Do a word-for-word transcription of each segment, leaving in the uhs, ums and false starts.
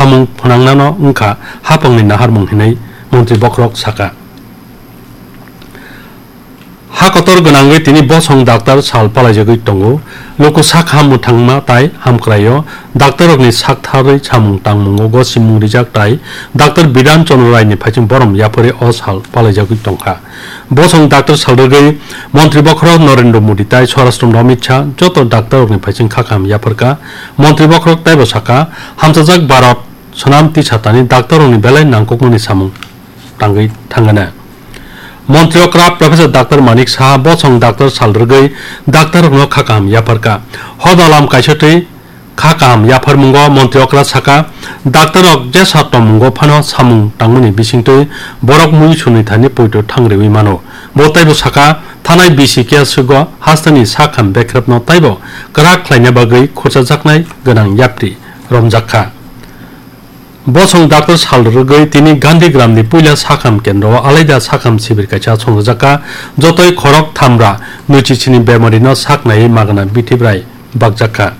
samung phwnangnano wngkha hapangni naharmung hinwi montri bokhorok saka. Ha kotor gwnangwi tini bosong daktar sal palaijagwi tongo. Luku sak ham mwthangma tai hamkraio daktarrokni saktharwi samung tangmungo gosimung rijak tai daktar Bidhan Chandra Raini phaiching borom yapharwi o sal palaijagwi tongkha. Bosong daktar sal rwgwi montri bokhorok Narendra Modi tai Swarashtra Amit Shah joto daktarrokni phaiching kha kaham yapharkha. Montri bokhorok taibo saka, hamchajak Bharat swnam tisatani daktarrokni belai nangkukmani samung tangwi thangana. Montri okra Professor Doctor Manik Saha bosong daktar sal rwgwi daktarrokno kha kaham yapharkha. Hoda lam kaisa twi kha kaham yapharmungo montri okra saka, daktarrok jesa tongmungo phano samung tangmani bisingtwi borok mui sunwi thani poito thangriwi mano. Bo taibo saka, thanai bisi kiya sugo hasteni sakham bekrepno taibo kwrak khlaina bagwi khurchajaknai gwnang yapri romjak kha. Bosong daktar sal rwgwi tini Gandhi Gramni puila sakham kendro o alaida sakham sibir kaisa chongjak kha. Jotoi khorok thamra nwichi chini bemarino sak naiwi magna bithibrai bakjak kha.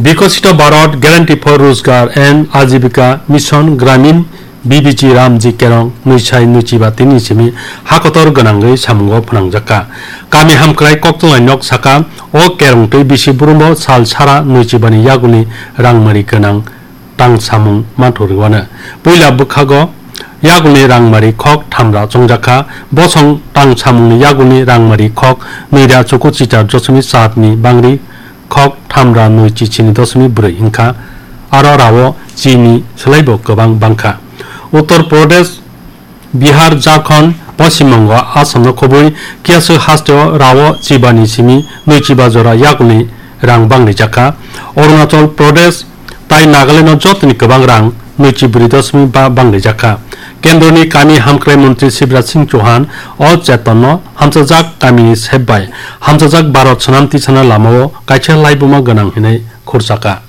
Bikosito Bharat Guarantee for Rozgar and Ajibika Mission Gramin B B G Ramji Kerong nwisai nwichiba tini simi hakotor gwnangwi samungo phwnangjak kha. Kami hamkrai koktwlai nok saka o kerong twi bisi burumbo sal sara nwichibani yagulni rangmari gwnang tang samung manthok rwano. Puila bwkhago yagulni rangmari khok thamra chongjak kha. Bosong tang samungni yagulni rangmari khok nwira chuku chichar dosomik satni bangri khok thamra nwi chichini dosomik brwi wngkha. Aro rao chini swlaibo kwbang bangkha. Uttar Pradesh, Bihar, Jharkhand, Poschim Bongo, Assam no khobwi kiyaswk hasteo rao chibani simi nwi chiba jora yagulni rang bangrijak kha. Arunachal Pradesh tai Nagaland no jotoni kwbang rang nwi chibrwi dosomik ba bangrijak kha. Kendroni kami hamkrai montri Shivraj Singh Chauhan o chetonno hamchajak kamini sep bai hamchajak Bharat swnam tisana lamao kaisa laibuma gwnang hinwi khurchakha.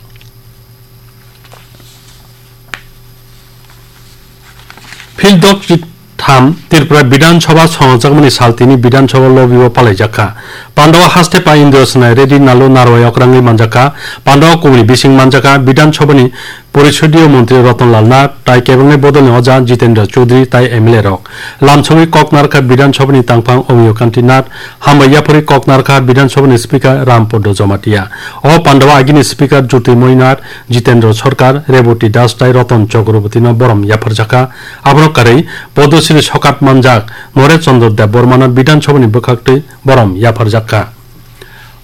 Phil dok chitham Tripura Bidhan Sabha songjakmani sal tini Bidhan Sabha lobby o palaijak kha. Pandao haste pa Indra Sinai Reddy Nalu Narwai okrangwi manjak kha. Pandao kubuni bising manjak kha. Bidhan Sabha ni Porisodio Montri Ratan Lal Nath tai kebengni bodolni oja Jitendra Chaudhary tai M L A rok. Lamsogwi kok narkha Bidhan Sabha ni tangphang Omiyo Kanti Nath, hambai yapharwi kok narkha Bidhan Sabha ni Speaker Ram Podo Jamatia. O pandao agini Speaker Jyotirmoy Nath, Jitendra Sarkar, Reboti Das tai Ratan Chakraborty no borom yapharjakha. Abono karwi Padma Shri sokat manjak Naresh Chandra Debbarma no Bidhan Sabha ni bwkhaktwi borom yapharjakha.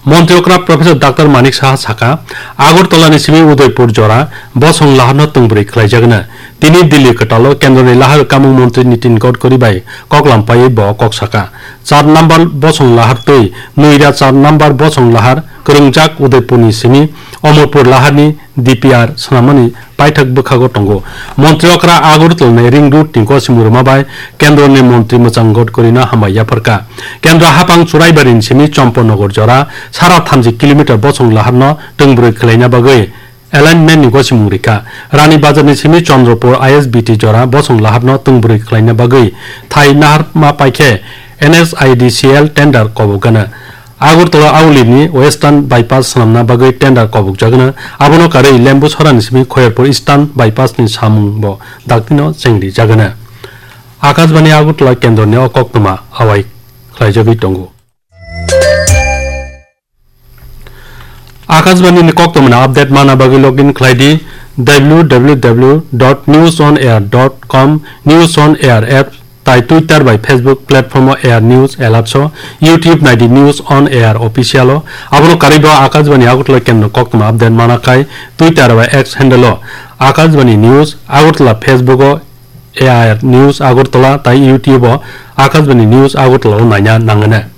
Montri okra Professor Doctor Manik Saha sakha, Agartala ni simi Udaipur jora bosong lahar no tungbrwi khlaijagna. Tini Delhi kwtal o Kendra ni lahar kamung montri Nitin Gadkari bai koklam paiwi bo kok sakha. Char number bosong lahar twi nwira char number bosong lahar kwrwngjak Udaipur ni simi Amarpur lahar ni D P R swnamani paithak bwkhago tongo. Montri okra Agartala ni ring road ni gosimung rwma bai Kendra ni montri mwchang Gadkari no hambai yapharkha. Kendra hapang Churaibari ni simi Champanagar jora sara thamji kilometer bosong lahar no tungbrwi khlaina bagwi alignment ni gosimung rikha. Rani Bazar ni simi Chandrapur I S B T jora bosong lahar no tungbrwi khlaina bagwi thai naharma paikhe N S I D C L tender kobok gana. Agartala Auli ni Western Bypass swnamna bagwi tender kobokjagano, abono karwi Lembusora ni simi Khoyerpur Eastern Bypass ni samung bo daktino chengrijagano. Akashbani Agartala kendroni o koktwma awai khlaijagwi tongo. Akashbani ni koktwmani update mana bagwi login khlai di W W W dot news on air dot com, News on Air app, tai Twitter bai Facebook platform o Air News Alerts o, YouTube nai di News on Air Official o. Abono karwi bo Akashbani Agartala kendro koktwma update mana khai Twitter bai X handle o Akashbani News Agartala, Facebook o Air News Agartala tai YouTube o Akashbani News Agartala o naina nangana.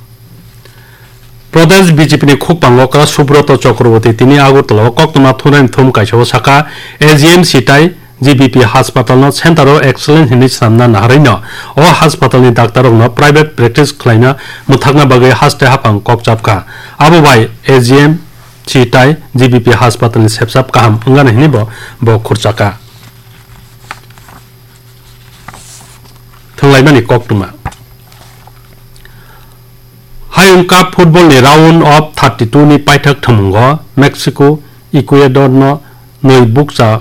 Pradesh B J P ni khukpang okra Subroto Chakraborty tini Agartala o koktwma thumnaini thum kaisa o sakha, A G M C tai G B P haspatal no center o excellence hinwi swnamna naharwi no o haspatal ni daktar rok no private practice khlaina mwthakna bagwi haste haphang kok chapkha. Abo bai A G M C tai G B P haspatal ni sepsap kaham wngana hinwi bo, bo khurchakha. Thwnglaimani koktwma. Hayung Cup football ni round of thirty-two ni paithak thwngmungo Mexico Ecuador no nwi bukcha